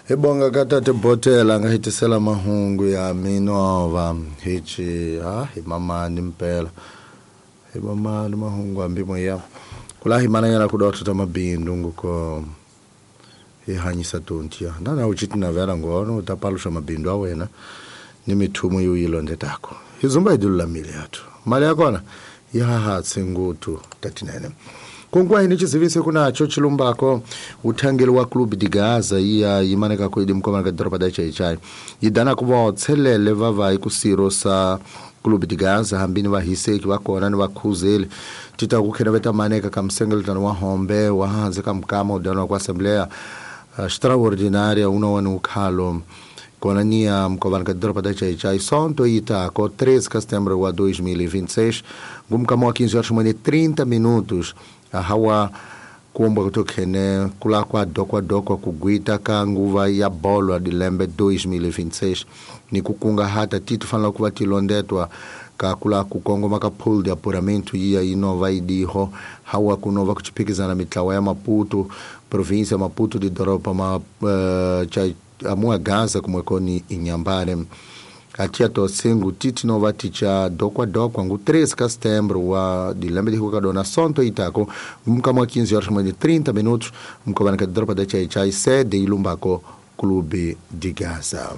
Hi bonga ka tate Botela nga hitisela mahungu ya minova hichi ha hi mamani mpela hi mamani mahungu ambi moya kula hi mananyana kuda tuta mabindu nguko hi hanyisa tontia nana uchiti na vera ngono utapalusha mabindu awena ni mithumo yuyilondetako hizumba idulamile yathu mali yakona yaha tsingutu tatinene Kungwa hini chizivise kuna chilumbako uthangeli wa Clube de Gaza iya imaneka ko idimkoma ka doroba da chai idana kuva tselele vava ikusiro sa Clube de Gaza hambini vahiseki vakona ni vakhuzeli tita kukhena veta maneka ka msengeletano wa hombe wa hanze ka mkama udana kwa assembleia extraordinária uno ukhalo kona nia mkovana ka doroba da chai sonto itako 13 de setembro wa 2026 gumkama wa 15 horas e 30 minutos hawa kuomba kutokhene kula kwa dokwa kugwita ka nguva ya bolo dilembe 2026 ni kukunga hata titu fanela kuva tilondetwa ka kula kukongoma ka pool de apuramento iya inova idiho hawa kunova kuchipikizana mitlawa ya Maputo província Maputo de doropa ma amua Gaza kumwekoni Inhambane atia tosengu titi nova ticha dokwa ngu 13 de setembro wa dilembe de Rukadona sonto itako mkama 15 horas e 30 minutos mkobana ka dropa da chai sede ilumbako Clube de Gaza.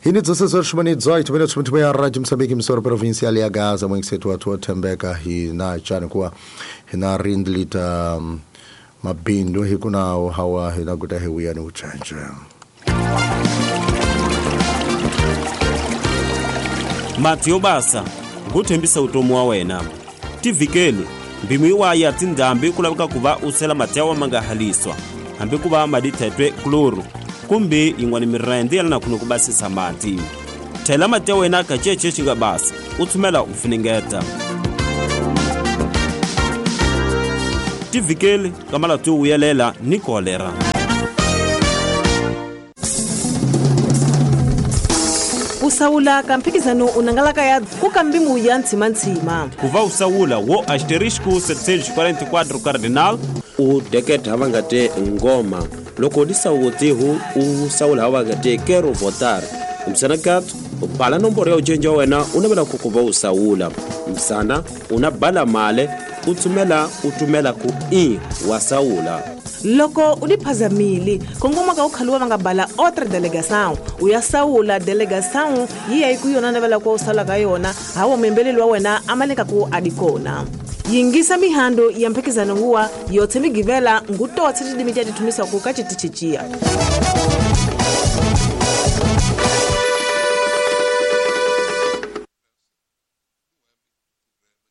Hini 16 horas e 18 minutos muito bem a Rádio Moçambique emissora provincial ya Gaza mwengisetu atu tembeka hina chana kuwa hina rindlita mabindu hikuna hawa hina kuta hewia ni uchanja. Mati yobasa nguthembisa utomi wa wena tivikeli mbimu iwaya ya tindhambi ku laveka ku va u sela mati ya wa ma nga haliswa hambi ku va madithetwe kloro kumbe yin'wana mirende ya lana khunu ku basisa mati thela mati ya wena ka cece xi nga basa u tshumela u funengeta tivikeli ka malatu yo vuyelela ni kolera. Usawula ka mphikizano unangalaka ya kuka mbimu ya ntsima-ntsima. Kuva usawula wo asterisco 744 cardinal u deketa hava nga te ngoma loko disawutihu u sawula hava nga te quero votar msana kat u bala nomboro ya ucenja wena u navela ku kuva usawula msana una bala male u tsumela u tumela ku i wa sawula. Loko u diphazamile kongoma ka u khaluwa va nga bala outra delegação u ya sawula delegação yi ya ku yona navela ku u sala ka yona hawa muembeleli wa wena a maleka ku a di kona yingisa mihando ya mphikizano huwa yothe migivela ngutotse tidimi tya tithumisaku ka citichicia.